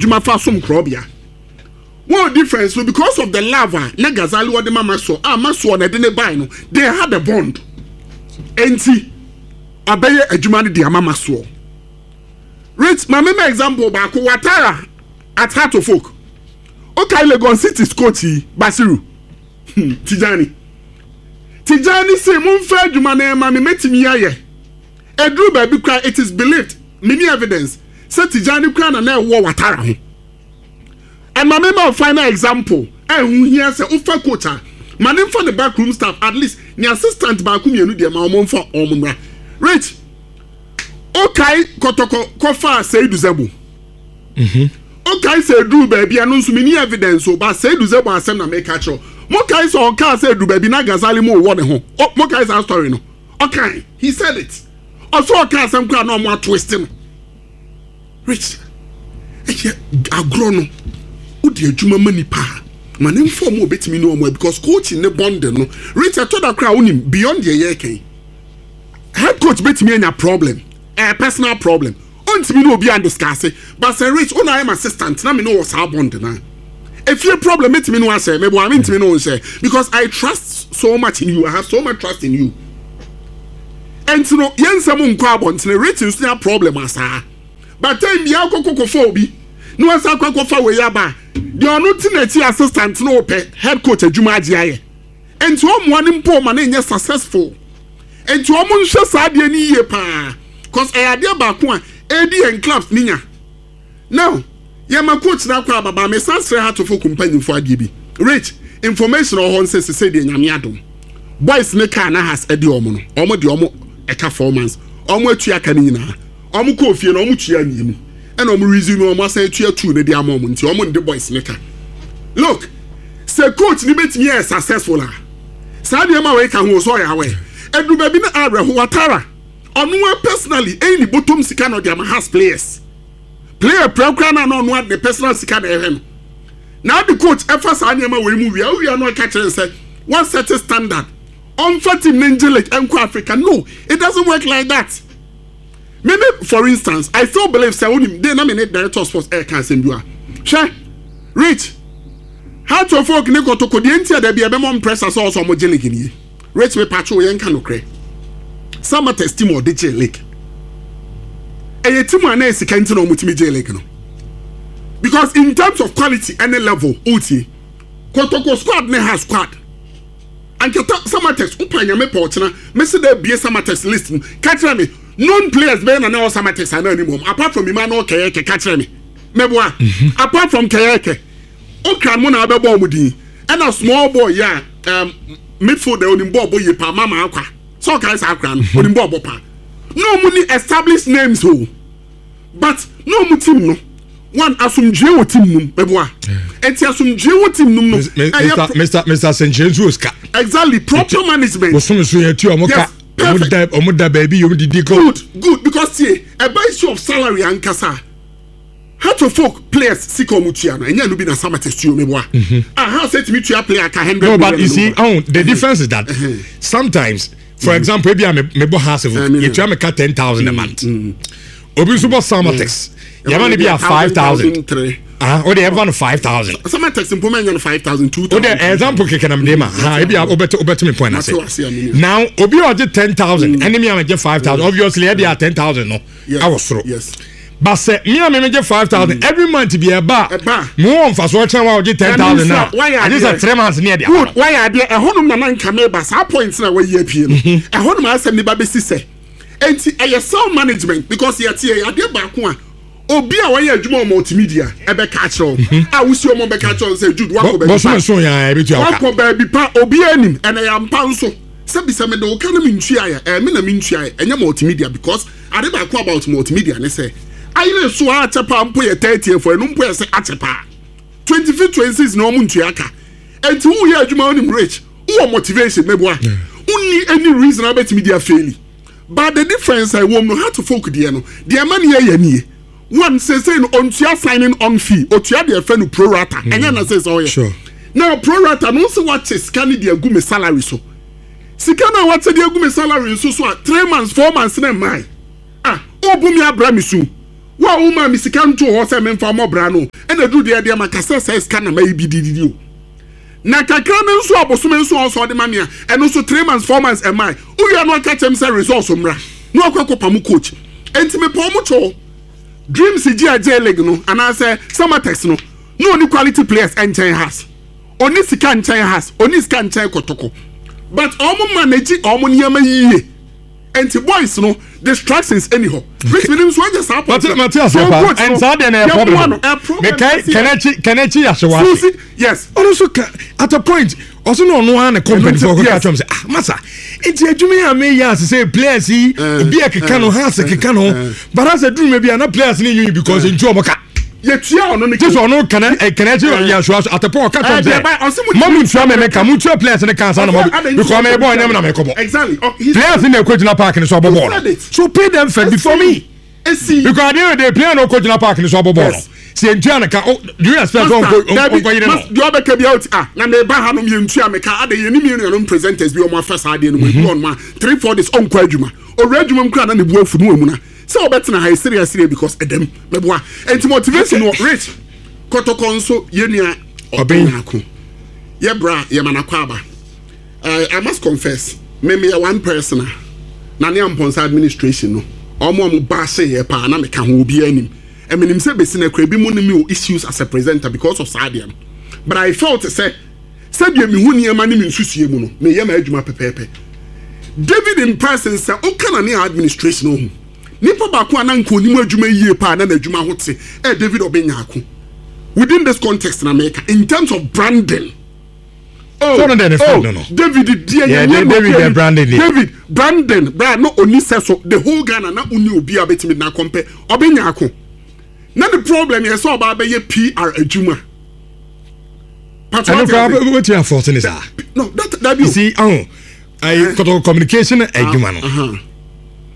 adwuma fa som korɔbea. Wɔn difference no, because of the love a na Gazali wɔde ma Maxwell a Maxwell na ɛde ne bae no, they had a bond. Enti ɔbɛyɛ adwuma no de ama Maxwell. Rich, ma mema example baako, Watara at Heart of Oak. Okay, Legon City's coach yi, Basiru. Tijani. Tijani se momfa adwuma no ɛma me, mɛtumi ayɛ. Ɛduru baabi koraa, it is believed, menni evidence, sɛ Tijani koraa na na ɛwɔ Watara ho. And ma mema wo final example a ɛho hia sɛ wofa coach a, ma ne mfa ne backroom staff, at least ne assistant baako mmienu deɛ, ma wɔn mfa wɔn mmra. Rich, wokae Kɔtɔkɔ kɔfaa Seidu Zebo? Wokae sɛ ɛduru baabi, ɛno nso menni evidence o, but Seidu Zebo asɛm na meka kyerɛ wo. Mokae sɛ ɔkaa sɛ ɛduru baabi na Gazali mo wɔ ne ho? Mokae saa story no? Ɔkae, he said it. Ɔsɛ ɔka asɛm koraa na ɔmo atwist no. Rich, ɛyɛ agorɔ no, wode adwuma ma nipa a, ma ne mfa ɔmo a obetumi ne ɔmo a, because coaching ne bonding no, Rich, ɛtɔ da koraa wonim beyond deɛ yɛreka yi. Head coach betumi anya problem, ɛyɛ personal problem. Ontumi ne obi andiscuss, but sɛ Rich, wo na ayɛ m'assistant na me ne wɔ saa bond no a, efie problem metumi ne wo ahyɛ, meboa mentumi ne wo nhyɛ because I trust so much in you, I have so much trust in you. Ɛnti no yɛn nsɛm nkɔ abɔntene, Rich nso nya problem asaa. But time biara kɔ kɔkɔfa obi na wasan akɔ akɔfa wei aba a, deɛ ɔno te n'akyi assistant no pɛ head coach adwuma agye ayɛ. Ɛnti ɔmmoa no mpo ma no nyɛ successful. Nti wɔn nhwɛ saa adeɛ no yie paa cause ɛyɛ adeɛ baako a ɛredi yɛn clubs ne nya. Now yɛma coach no akɔ ababa, mesan srɛ Hartlepool mpanyinfoɔ adeɛ bi. Rich, information wɔ hɔ nsɛ sesei deɛ Nyame adom boys ne car na has ɛde wɔn no, wɔn de wɔn ɛka 4 months, wɔn atua aka no nyinaa, wɔn kɔɔ fie no wɔn tua mmienu ɛna wɔn resume, wɔn asan atua two no de ama wɔn, nti wɔn nde boys ne ka. Look, sɛ coach ne betumi ayɛ successful a, saa nneɛma wei ka ho so ɔyɛ awɛ ɛduru baabi na awerɛho. Watara ɔno a personally ɛyi ne bɔtɔm sika na ɔde ama Hearts players, player pira na ɔno ade ne personal sika na ɛhwɛ no na ade coach ɛfa saa nneɛma wei mu wia wia no aka kyerɛ sɛ one set standard, ɔnfa team ne ngye league ɛnkɔ Africa. No, it doesn't work like that. Me for instance, I still believe sɛ onim de na me ne director of sports ɛɛka asɛm bi wa. Hwɛ, Rich, Heart of Oak ne Kɔtɔkɔ deɛ nti a dabi ɛbɛmɔ mprɛsa sɛ ɔsɔ ɔmo gye league nie. Rich, me patro, yɛn ka nokorɛ. Samartex team a ɔde gye league, ɛyɛ team a na yɛ sika nti na ɔmo tumi gye league no, because in terms of quality ɛne level, ɔtie Kɔtɔkɔ squad ne ha squad ankata Samartex. Wopa Nyame pɛ, ɔkyena mesi dɛ bie Samartex list mu ka kyerɛ me known players bɛyɛ na na ɛwɔ Samartex ana anim wɔm apart from Emmanuel Kɛyɛkɛ. Ka kyerɛ me, mɛboa? Apart from Kɛyɛkɛ, okra mo na abɛbɔ ɔmo din ɛna small boy yi a midfielder, onim bɔɔl bɔ yie paa, Mama Akwa sɛ ɔkae saa akora no, onim bɔɔl bɔ paa. Na ɔmo ni established names o, but na ɔmo team no, one, asomdue wɔ team num, mɛboa? Eti asomdue wɔ team num no ɛyɛ Mr Sɛnkyerɛ nso wɔ sika. Exactly, proper management. Bosom so yɛ tu ɔmo ka. Yes, ɔmo da, ɔmo da baabi yɛ ɔmo didi kɔ. Good, because tie, ɛba issue of salary ankasa, Heart of Oak players sika ɔmo tua no, ɛnyɛ no bi na Samartex tua, mɛboa? Aha sɛ tumi tua player ka 100 No, but you see, oh, the difference is that sometimes, for example, ebi a me bɔ Hearts of Oak, yɛtua me ka 10,000 a month. Obi nso bɔ Samartex, yɛma no bi a 5,000. Ah, o de ɛfa no 5,000. Samartex mpo mɛ nyɛ no 5,000, 2,000. O de example kɛkɛ na mi de ma ha, ebi a wobɛte me point ase. Now obi a ɔgye 10,000 ɛne mi a megye 5,000, obviously ɛde a 10,000 no ɛwɔ soro. But sɛ mi a mi megye 5,000 every month bi ɛba Ɛba. a, mo wɔ nfasoɔ kyɛn wa ɔgye 10,000 na Wayɛ agye adeɛ. sɛ 3 months ne ɛde ama Good, no. wayɛ adeɛ. Ɛhɔnom na nanka meba saa point na wayi apie no, ɛhɔnom asɛm ne ba bɛsi sɛ enti ɛyɛ self management, because yɛte yɛ adeɛ baako a obi a wayɛ adwuma wɔ multimedia ɛbɛka akyerɛ wo a wosi ɔmo bɛka akyerɛ wo sɛ Jude, wakɔ baabi Bɔsɔmɛ pa so yɛn ebi tua wo ka. Wakɔ baabi pa, obi anim ɛna yɛ ampa nso sɛbi sɛ mede wo ka no mentua yɛ ɛɛ me na mentua yɛ, ɛnyɛ multimedia, because ade baako about multimedia ne sɛ ayere so a akyɛ paa mpo yɛ 30 fo, ɛno mpo yɛ sɛ akyɛ paa 25, 26 na ɔmo ntua ka. Enti woyɛ adwuma, wonim, Rich, wowɔ motivation, mɛboa? Wonni any reason a wobɛtumi de afail. But the difference a ɛwɔ mu no, Hearts of Oak deɛ no deɛ ɛma ne yɛyɛ nie: one, seesei no ɔntua signing on fee, otua deɛ ɛfɛ no pro rata. Ɛnyɛ na seesei ɔyɛ now pro rata no nso wakyɛ sika no de agu me salary so. Sika no a wakyɛ de agu me salary nso so a, 3 months, 4 months na mmaa ah, ɔbu mi abra mi so. Wo a womaa me sika ntoo hɔ sɛ memfa mmɔ bra no, ɛna duru deɛ deɛ maka sɛ saa sika na mayi bi dididi o. Na kakra no nso a bosome nso a ɔsɛ ɔde ma me a, ɛno nso 3 months, 4 months ɛmae. Wowia no aka kyerɛ me sɛ results mmra na wakɔ akɔpa coach. Enti mepɛ ɔmo kyɛw. Dreams gye a J League no anaasɛ Samatex no na ɔni quality players ɛnkyɛn Hearts. Ɔni sika nkyɛn Hearts, ɔni sika nkyɛn Kɔtɔkɔ. But ɔmo manage ɔmo nneɛma yie. Nti boys no, distractions ɛni hɔ. Which means nso ɛnyɛ saa point. Mate ase pa. And saa deɛ na ɛyɛ problem. Mekae Kɛnɛkyi Yasewase. Susi, yes. Ɔno nso ka at a point ɔso na ɔno ara ne company fo ɔkɔka kyerɛ m sɛ, "Ah, masa, nti adwuma yi a meyɛ ase sɛ players yi obi a keka no ha ase keka no, but asɛ duru bi a na players ne nyi because ntu ɔmo ka." Yɛtua ɔno ne Gye sɛ ɔno Kɛnɛkyi Yasewase at a point ɔka kyerɛ m sɛ ma mu ntua me ka, mu ntua players ne ka ansa na mo, because me bɔ ɛnyɛ me na me kɔbɔ. Oh, he Players ne ɛkɔ gyina park ne so abɔ bɔɔl said no. It. So pay them first before me. Esi. Because at the end of the day, player no kɔ gyina park ne so abɔ bɔɔl no, sɛ ntua ne ka, oh, do you expect sɛ ɔnkɔ yere no? Deɛ ɔbɛka bi out ah, na meba ha nom yɛntua me ka ade yɛne mi nuanom presenters bi ɔmo afa saa adeɛ no mu, ebi ɔnom a 3, 4 days ɔnkɔ adwuma, ɔwura adwuma mu kora na ne bu afu no amu na sɛ ɔbɛtena ha ɛsere ɛsere because ɛdɛm mɛboa. Nti motivation wɔ Rich Kɔtɔkɔ nso, yɛnua Ɔbɛn. Ɔbɛn yɛ bra yɛma nakɔ aba. I must confess, me meyɛ one person a na ne Ampɔnsa administration no, ɔmo a ɔmo ba ase yɛ paa na meka ho obiara anim. Ɛmenim sɛ besi na kura bi mu ne me wɔ issues as a presenter because of saa adeɛ no, but I felt sɛ sɛdeɛ mehu nneɛma ne me nsusuo mu no, meyɛ ma adwuma pɛpɛɛpɛ. David in person, sɛ ɔka na ne administration ɔho nipa baako a na nka onim adwuma yie paa na n'adwuma ho te ɛ David Ɔbɛnyaako within this context na meka in terms of branding. Oh, So no deɛ ne friend oh, no. David deɛ Yeah, yɛnyɛ no David kɛni. deɛ branding deɛ. David branding bra no oni sɛ so the whole Ghana na oni obi a bɛtumi na kɔmpɛ Ɔbɛnyaako na ne problem yɛ sɛ ɔbaa bɛyɛ PR adwuma. Patro Ɛno ate koraa ase? wobɛtumi afɔɔte ne saa. No, that You you see, ɔho ayi Kɔtɔkɔ communication adwuma no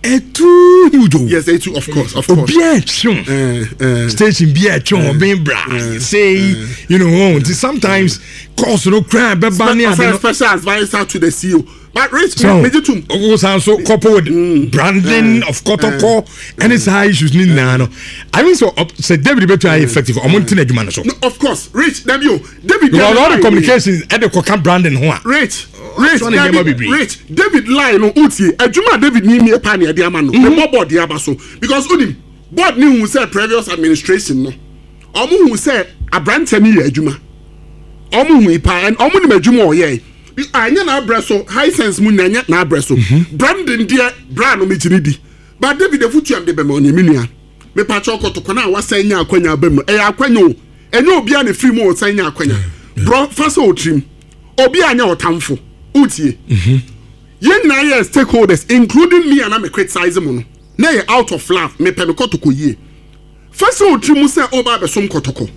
ɛtoo huge o. Yes, it of course, of course. Obiara ɛtwew station bi ɛtwew ɔbɛn bra say oh, nti sometimes calls no koraa bɛba ne ade no. Special adviser to the CEO, but Rich, So megye tom. wo san so couple with branding of Kɔtɔkɔ ɛne saa issues ne nyinaa no, I mean, so sɛ David bɛtu ayɛ effective, ɔmo nte n'adwuma no so. No, of course, Rich, dabi o, David Because all the line communications ɛde kɔka branding ho a Rich, Rich, ɔsɔ ne nneɛma David, bebree. Rich, David line no, utie adwuma a David ni mie paa ne ɛde ama no ne bɔ board de aba so because onim board ne hu sɛ previous administration no, ɔmo hu sɛ aberanteɛ no yɛ adwuma, ɔmo hu yi paa and ɔmo nim adwuma a ɔyɛ. Anyɛ n'abrɛ so high sense mu nya nyɛ n'abrɛ so branding deɛ bra no megye di, but David efutuam de bɛma ɔne me nua mepakyɛ ɔkɔtɔkɔ no a wasan nya akwanya aba mu, ɛyɛ akwanya o, ɛnyɛ obiara na efiri mu a ɔsan nya akwanya borɔ fa sɛ ɔtirim obi a nyɛ ɔtamfo wotie. Yɛn nyinaa yɛ stakeholders, including me a na me criticize mu no na yɛ out of love, mepɛ me Kɔtɔkɔ yie. Fa sɛ ɔtiri mu sɛ ɔba abɛsom Kɔtɔkɔ,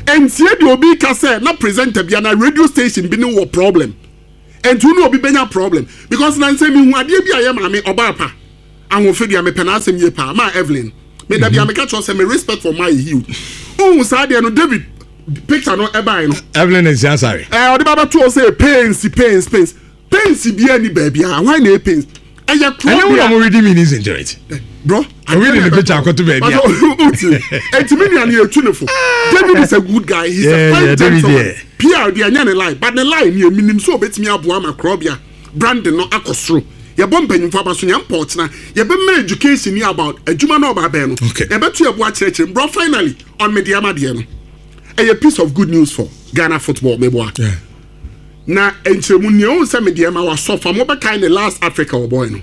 ntie deɛ obi ka sɛ na presenter bi ana radio station bi ne wɔ problem, nti wo ne obi bɛnya problem because na nsɛ mehu adeɛ bi a yɛ maame ɔbaa pa ahoɔfɛ deɛ mepɛ n'asɛm yie paa maa Evelyn me dabi a meka kyerɛ sɛ me respect for my huge ohun saa deɛ no, David picture no ɛbae no. Evelyn Nsiasare. Ɔde ba bɛto hɔ sɛ pains, pains, pains, pains bi ani baabi a hwan na ɛ pains ɛyɛ kuro Ɛnyɛ wo na bia mo reading meanings into it. Bro. Obi de ne picture akɔto baabi a. Eti mi nua ni etu ne fo. David is a good guy, he's a fine David gentleman. Yeah. PR deɛ ɛnyɛ ne line, but ne line ni eminim so obetumi aboa ama korɔbea branding no akɔ soro. Yɛbɔ mpanyinfo aba so, yɛn mpɔ ɔkyena yɛbɛma education ni about adwuma na ɔba abɛn no. Yɛbɛto yɛbo akyerɛkyerɛ bro. Finally, on Medeama deɛ no, ɛyɛ piece of good news for Ghana football, meboa? Yeah. Na nkyerɛmu nea ohun sɛ Medeama wasɔ fa mo bɛkae ne last Africa ɔbɔɛ no,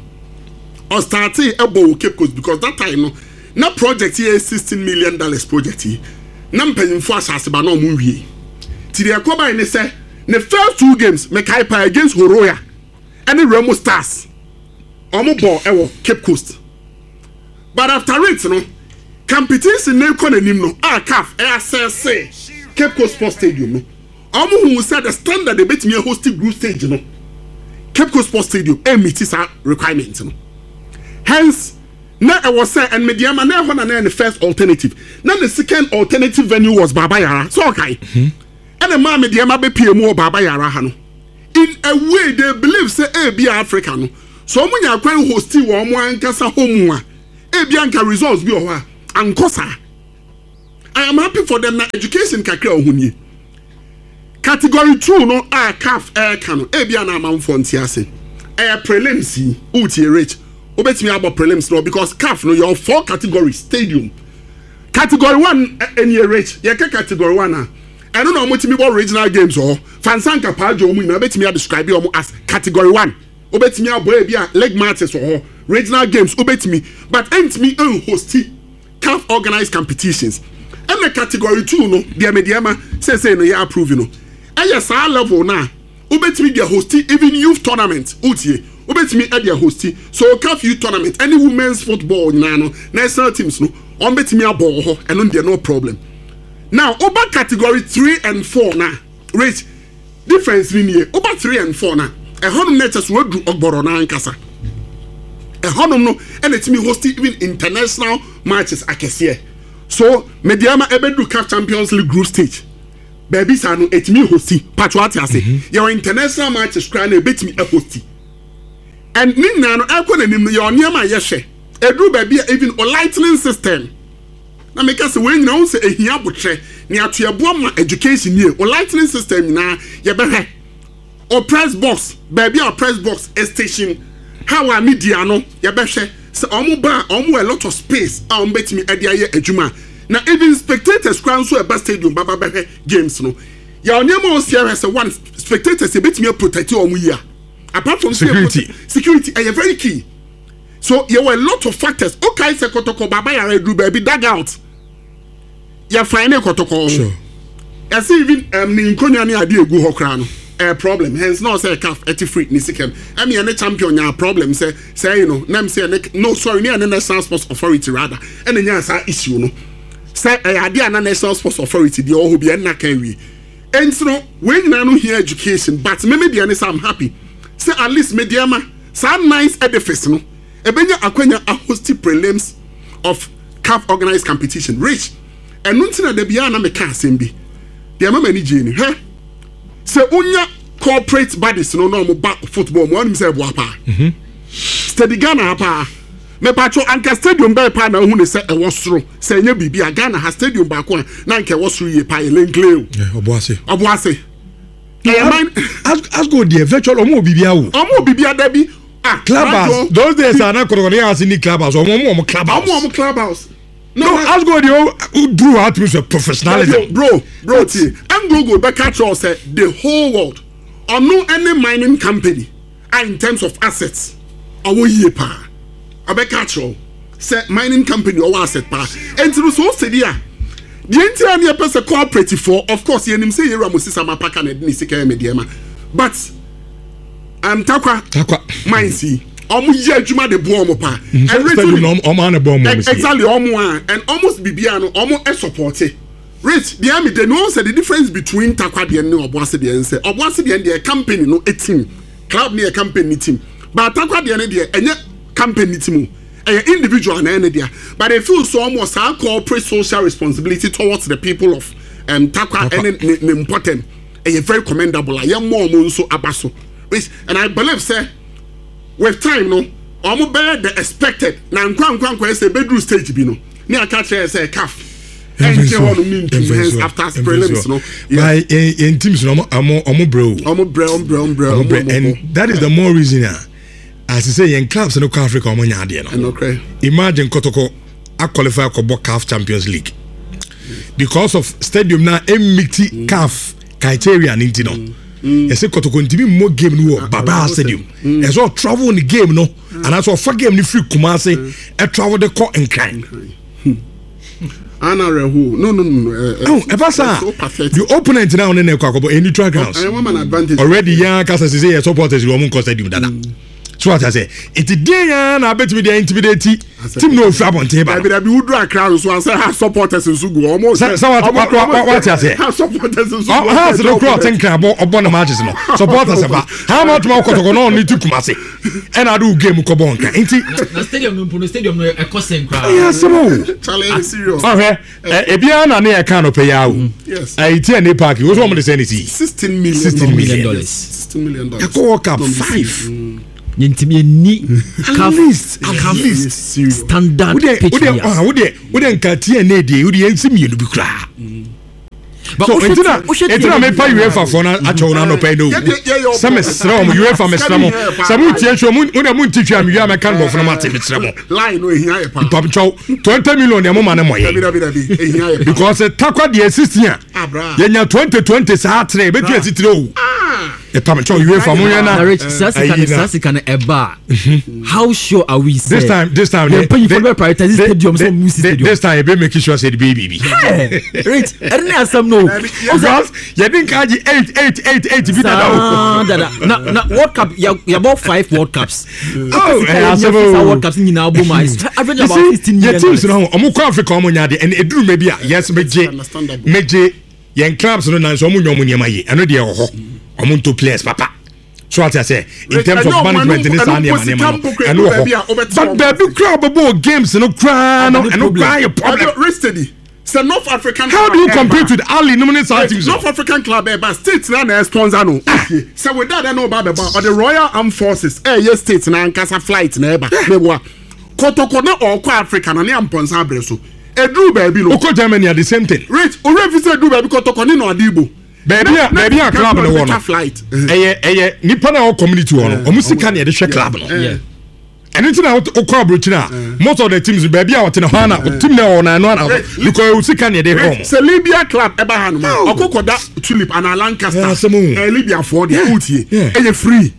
ɔstarte ɛbɔ wɔ Cape Coast because that time no na project yɛ $16 million project yi na mpanyinfo asase ba na ɔmo nwie, ti deɛ ɛkɔ ban ne sɛ ne first two games mekae paa against Horoya ɛne Remo Stars, ɔmo bɔ ɛwɔ Cape Coast. But after it no, competition ne kɔ n'anim no a CAF ɛyɛ asɛse Cape Coast Sports Stadium no, ɔmo hu sɛ the standard ebetumi ahost group stage no, Cape Coast Sports Stadium ɛmmeet saa requirement no. Hence na ɛwɔ sɛ ɛn Medeama na ɛhɔ na ɛyɛ ne first alternative, na ne second alternative venue was Baba Yara. So ɔkae ɛna maa Medeama bɛpie mu wɔ Baba Yara ha no. In a way they believe sɛ ebi Africa no so ɔmo nya kwan hosti wɔ ɔmo ankasa hɔ mu a, ebi anka results bi wɔ hɔ a Ankɔ saa. I am happy for them na education kakra a ɔho nie. Category 2 no a CAF ɛreka no, ebi a na amanfoɔ nte ase. Ɛyɛ prelims yi, wotie Rich, wobɛtumi abɔ prelims no because CAF no yɛwɔ four categories stadium. Category 1 ɛnie Rich, yɛka category 1 a, ɛno na wɔtumi bɔ regional games wɔ hɔ. Fansanka Paajo wɔn nyinaa wobɛtumi adescribe wɔn as category 1. Wobɛtumi abɔ ebi a league matches wɔ hɔ, regional games wobɛtumi, but ɛntumi nhosti CAF organised competitions. Ɛna category 2 no deɛ Medeama seesei no yɛ approve no, ɛyɛ saa level no a wobɛtumi de ahosti even youth tournament. Wotie? Wobɛtumi de ahosti so CAF youth tournament ɛne women's football nyinaa no, national teams no wɔn bɛtumi abɔ wɔ hɔ, ɛno deɛ no problem. Now woba category 3 and 4 na rate difference ni nie. Woba 3 and 4 na ɛhɔnom na ɛkyɛ so waduru ɔgbɔrɔ no ankasa. Ɛhɔnom no ɛna ɛtumi host even international matches akɛseɛ. So Medeama ɛbɛduru CAF Champions League group stage baabi saa no ɛtumi hosti patro ate ase. Yɛwɔ international matches koraa na ɛbɛtumi ahosti, and ne nyinaa no ɛkɔ n'anim no yɛwɔ nneɛma a yɛhwɛ ɛduru baabi a even o lightning system na meka sɛ wei nyinaa wohu sɛ ɛhia abotrɛ ne atoɛboa ma education nie. O lightning system nyinaa yɛbɛhwɛ, o press box, baabi a press box station how a media no yɛbɛhwɛ sɛ ɔmo ba a ɔmo wɔ a lot of space a ɔmo bɛtumi ɛde ayɛ adwuma, na even spectators koraa nso ɛba stadium baba bɛhwɛ games no, yɛ nneɛma a ɔsi ahwɛ sɛ one, spectators yɛbɛtumi aprotect ɔmo yie a, apart from security. Security ɛyɛ very key. So yɛwɔ a lot of factors. Okay, sɛ Kɔtɔkɔ Baba Yara aduru baabi dugout yɛfan ne Kɔtɔkɔ ho. Ɛsɛ even ne nkonnwa ne adeɛ egu hɔ koraa no ɛyɛ problem, hence na ɔsɛ CAF ɛte free ne sika mu ɛmi ɛne champion nya problem sɛ sɛ ɛyi no nam sɛ ɛne no, sorry, ne ɛne National Sports Authority rather ɛna nya saa issue no sɛ ɛyɛ adeɛ a na National Sports Authority deɛ ɔwɔ hɔ bi ɛnna kan wie. Ɛnti no wei nyinaa no hia education, but meme deɛ ne sɛ I'm happy sɛ at least me deɛ ma saa nice edifice no ɛbɛnya akwanya ahosti prelims of CAF organized competition. Rich, ɛno nti na da biara na meka asɛm bi deɛ ma m'ani gyee ni hwɛ sɛ wonya corporate bodies no na ɔmo ba football mu, ɔnim sɛ ɛboa paa. Steady Ghana ha paa, mepatwo anka stadium bɛɛ paa na ohu ne sɛ ɛwɔ soro sɛ ɛnyɛ biribi a Ghana ha stadium baako a na anka ɛwɔ soro yie paa yɛ Len Clay o. Ɔboase. Ɔboase ɛyɛ man. Asgo deɛ, virtual ɔmo wɔ biribi awo. Ɔmo wɔ biribi ada bi ah. Clubhouse those days a na Kɔtɔkɔ ne yɛ ase ni clubhouse, ɔmo clubhouse. Ɔmo clubhouse. No, Asgo deɛ, o duru hɔ atumi sɛ professionalism. Bro, tie, Anglo Gold bɛka kyerɛ wo sɛ the whole world ɔno ɛne mining company a in terms of assets ɔwɔ yie paa. Ɔbɛka kyerɛ wo sɛ mining company ɔwɔ asset paa. Ɛnti no so ɔsɛ di a deɛ nti a ne yɛpɛ sɛ cooperative foɔ, of course yɛnim sɛ yɛwura mo sisa ma paka na ɛde ne sika yɛ Medeama, but Takwa Takwa mines yi ɔmo yɛ adwuma de boɔ ɔmo paa. And stadium na ɔmo ana bɔ ɔmo si. Exactly, ɔmo a and almost biribiara no ɔmo ɛsupport. Rich, deɛ mi de no sɛ the difference between Takwa deɛ ne Ɔboase deɛ nsɛ Ɔboase deɛ deɛ company no team club ne yɛ company ne team, but Takwa deɛ ne deɛ ɛnyɛ company ne team o, ɛyɛ individual na ɛne deɛ, but they feel so ɔmo saa corporate social responsibility towards the people of Takwa ɛne ne mpɔtɛm ɛyɛ very commendable a yɛn mɔ ɔmo nso aba so. Rich, and I believe sɛ with time no ɔmo bɛyɛ the expected na nkwa nkwa nkwa ɛsɛ ebeduru stage bi no ne aka kyerɛ sɛ CAF ɛnkyɛ hɔ nom ne ntum, hence after prelims no. By yɛn teams no ɔmo brɛ o. Ɔmo brɛ, ɔmo brɛ, ɔmo brɛ. Ɔmo brɛ, and that is the more reason a as sɛ yɛn clubs no kɔ Africa ɔmo nya adeɛ no. Ɛnɔkrɛ. Imagine Kɔtɔkɔ aqualify akɔbɔ CAF Champions League because of stadium na emiti CAF criteria ne nti no yɛsɛ Kɔtɔkɔ ntumi mmɔ game no wɔ Baba Stadium, ɛsɛ ɔtravel ne game no anaasɛ ɔfa game no firi Kumase ɛtravel de kɔ Nkran. Ana rehu no. Oh, ɛba saa so pathetic. The opponent now ne na ɛkɔ akɔbɔ ɛni neutral grounds. I want an advantage. Already yɛn akasa sise yɛ supporters wɔn nkɔ stadium dada so ata sɛ eti den ya na abetumi de intimidate team na ofiri abɔnten ba. Dabi dabi, wudu Akra nso asɛ ha supporters nso gu ɔmo. Sɛ wate aseɛ. Ha supporters nso gu. Ha ase no kura ɔte Nkran bɔ ɔbɔ ne matches no supporters ba ha ma tuma Kɔtɔkɔ na ɔne ti Kumase ɛna ade wo game kɔ bɔ Nkran nti. Na stadium no mpo no, stadium no ɛkɔ sɛn koraa? Ɛyɛ asɛm o. Charlie, serious. Ɔhwɛ ɛ ebiara na ne yɛ kan no pɛ yɛ awo. Ɛyi tí ɛne park wosɔ wɔn de sɛ ne si. 16 million. 16 million dollars. $16 million. Ɛkɔ World Cup five. Yɛntumi yɛnni At CAF least, at CAF least. standard Wode pitch wode bi ah ase. wode wode nka TNA deɛ wode yɛnsi mmienu bi koraa. But So wohwɛ enti na ti- wohwɛ enti na TNA mepa UEFA foɔ no akyɛw no anɔpa yi no Yɛ- yɛ- sɛ mesrɛ wɔn UEFA mesrɛ mo sɛ motie hwɛ mo mo deɛ monte hwɛ a mewie a mɛka no bɔfo no mate mesrɛ mo Line no ehia yɛ paa. mpamkyɛw 20 million deɛ moma no Dabi mmɔyɛ dabi dabi ehia yɛ paa. because takwa deɛ 16 a Ah, bra. yɛnya 2020 saa tere ɛbɛtumi asi tire o Ah. mpamkyɛw UEFA monhwɛ Na na Rich, saa sika no ayi na saa sika no ɛba a how sure are we this sɛ time this time yɛn mpanyinfoɔ bɛ prioritize stadium sɛ ɔmo si stadium. this time yɛbɛ make sure sɛ ɛde bɛyɛ biribi Rich, ɛno ne asɛm no o. because yɛde nka agye 8 8 8 8 bi dada o Saa dada na na world cup yɛ yɛbɔ five world cups. Oh, Sika ɛyɛ yɛ asɛm nya fi saa o. world cups nyinaa bɔ mu a it's average You about see, 16 million yɛ teams dollars. no ho ɔmo kɔ Africa ɔmo nya adeɛ ɛna eduru mɛ bi a yes megye understandable. megye yɛn clubs no nanso ɔmo nya ɔmo nneɛma yie ɛno deɛ ɛwɔ hɔ ɔmo nto players papa so ate ase in terms of ɛnyɛ ɔmo management ne ɛno saa mpo nneɛma sika nneɛma no mpo kura ɛno wɔ baabi a hɔ wobɛte but ɔmo baabi ase. kura ɔbɛbɔ games no koraa no Ɛno ɛno problem. koraa yɛ problem Ɛno Rich steady. Sɛ North African. how do you club compete ɛba- with Ali nom ne saa teams no North African club ɛba state na na sponsor no. Okay. Sɛ weda dɛ na ɔba bɛba ɔde Royal Armed Forces ɛyɛ state na ankasa flight na ɛba. Meboa. Kɔtɔkɔ na ɔkɔ Africa na ne ampɔnsa abere so. Eduru baabi no. okɔ Germany a the same thing Rich owurɛ fi sɛ eduru baabi kɔtɔkɔ ne na ɔde ibo. baabi a baabi a club no wɔ no Flight. ɛyɛ ɛyɛ nipa na ɔwɔ community hɔ no ɔmo sika na yɛde hwɛ club no. Yeah. Ɛno nti na wokɔ aburokyire a most of the teams baabi a wɔte no hɔ ana team na ɛwɔ no ɛno ana because ɛwɔ sika na yɛde hwɛ wɔn. Sɛ Libya club ɛba ha nom a ɔkɔ kɔda Tulip anaa Lancaster. Yeah, asɛm o. Ɛyɛ Libya foɔ deɛ wotie. Yeah. Ɛyɛ free.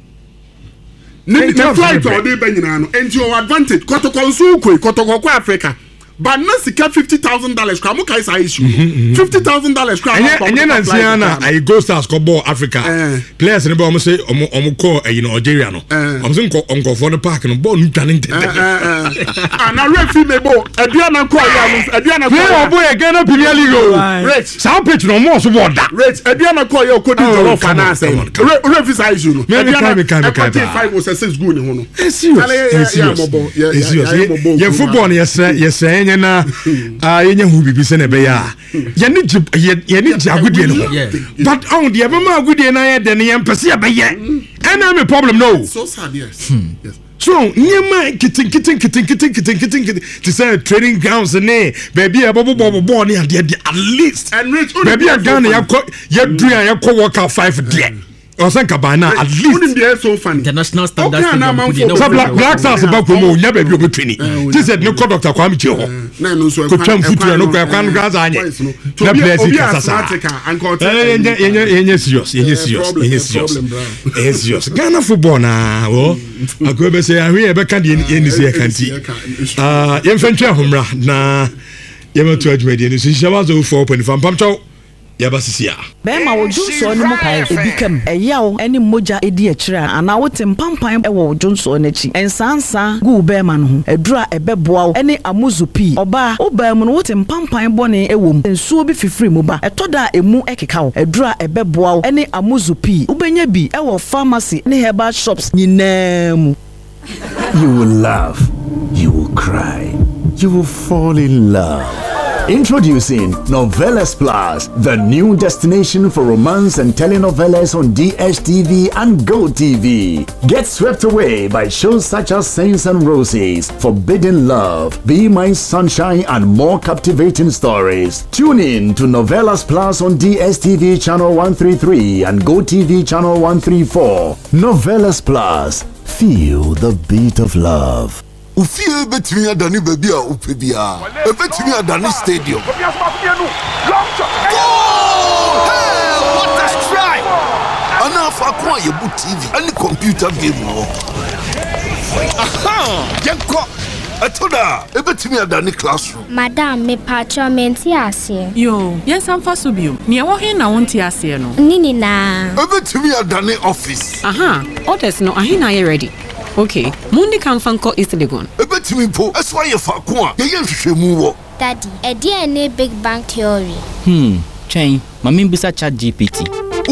Ne ne Clubs flight no a brɛ. ɔde ba nyinaa no nti ɔwɔ advantage kɔtɔkɔ nso koi kɔtɔkɔ kɔ Africa but na sika $50,000 kora mo kae saa issue $50,000 kora. Ɛnyɛ ɛnyɛ nansi na ayi Gold Stars kɔ bɔɔl Africa Eh. players ne bɛ ɔmo se ɔmo ɔmo kɔ ɛyi no Algeria no Eh. ɔmo se nkɔ nkɔfoɔ no park no bɔɔl no dwane ntɛntɛn. Ana refi mi bo aduana kɔ yɛ ano aduana kɔ Player yɛ ɔbɔ yɛ Ghana Premier League o Rich saa pitch na ɔmo ɔso bɔɔl da. Rich aduana kɔ yɛ okodi Oh, jollof come on, anaasɛ come on, come on. refi saa issue no Me, me kae, me kae, me kae ɛkɔgye paa. five or six goal ne ho no. It's serious. Kale, yɛ- It's yɛ- yɛ serious. amɔbɔ, yɛ- It's yɛ- serious. yɛ amɔbɔ Yɛ okuru football no yɛsrɛ yɛsrɛ yɛnyɛ na ah, yɛnyɛ ho biribi sɛ na ɛbɛyɛ a yɛne gye yɛ- yɛne gye agodie no ho Yeah. but ɔn deɛ ɛbɛma agodie no ayɛ dɛ no yɛmpɛ sɛ yɛbɛyɛ ɛna me problem no So sad, yes. Yes. So nneɛma nketenkete nketenkete nketenkete nkete te sɛ training grounds ne baabi a yɛbɛbobɔ bɔɔl ne adeɛ deɛ at least And Rich, wonim baabi a deɛ ɛyɛ Ghana so yɛkɔ yɛduru a yɛkɔ World Cup five deɛ ɔsɛ nkaban na at least Wonim deɛ ɛyɛ so funny. International standard Okay, stadium na po deɛ na amanfoɔ- sɛ wɔfrɛ Black Stars ba kurom a onya baabi a obɛtwani gye sɛ ne kɔ Dr. Kwame Kyei hɔ Na ɛno nso kotwa mfuturo no kɔ ɛkwan no koraa saa anyɛ na players yi kasa saa Ɛɛ, yɛnyɛ yɛnyɛ yɛnyɛ serious yɛnyɛ Eh, serious problem, yɛnyɛ eh, serious problem, bra. ɛyɛ serious Ghana football naa wɔ akɔyɛ bɛ sɛ ahwe yɛ bɛka deɛ yɛnni sɛ yɛka nti ah, yɛmfa ntwa ahomra na yɛmɛto adwumadie no so nhyia wa so 4.5 mpamkyɛw yɛba sisi a Bɛrima wo dwonsɔɔ no mu pae ebi kam, ɛyaw ne mogya di akyire a, anaa wote mpampan wɔ wo dwonsɔɔ no akyi. Nsaansaa gu wo bɛrima no ho. Aduru a ɛbɛboa wo ne amuzu pii. Ɔbaa, wo baa mu no wote mpampan bɔne wɔ mu, nsuo bi fifiri mu ba. Ɛtɔ da a emu keka wo. Aduru a ɛbɛboa wo ne amuzu pii. Wobɛnya bi wɔ pharmacy ne herbal shops nyinaa mu. You will laugh, you will cry, you will fall in love. Introducing Novelas Plus, the new destination for romance and telenovelas on DSTV and GoTV. Get swept away by shows such as Saints and Roses, Forbidden Love, Be My Sunshine, and more captivating stories. Tune in to Novelas Plus on DSTV Channel 133 and GoTV Channel 134. Novelas Plus. Feel the beat of love. Wo fie bɛtumi adane baabi a wopɛ biara. Ɛbɛtumi adane stadium. Goal! Hey, what a strike! Anaa faako a yɛbu TV ne computer game wɔ. Aha! Yɛnkɔ! Ɛtɔ da a, ɛbɛtumi adane classroom. Madam, mepaakyɛw mente aseɛ. Yoo, yɛnsan mfa so bio. Nea ɛwɔ he na wonte aseɛ no? Ne nyinaa. Ɛbɛtumi adane office. Aha, orders no ahe na ayɛ ready? Ok, mundi kan mfa nkɔ East Legon. Ɛbɛtumi mpo nso ayɛ faako a yɛyɛ nhwehwɛmu wɔ. Daddy, ɛdeɛn ne Big Bang Theory? Hmm, twɛn, ma mimmisa ChatGPT.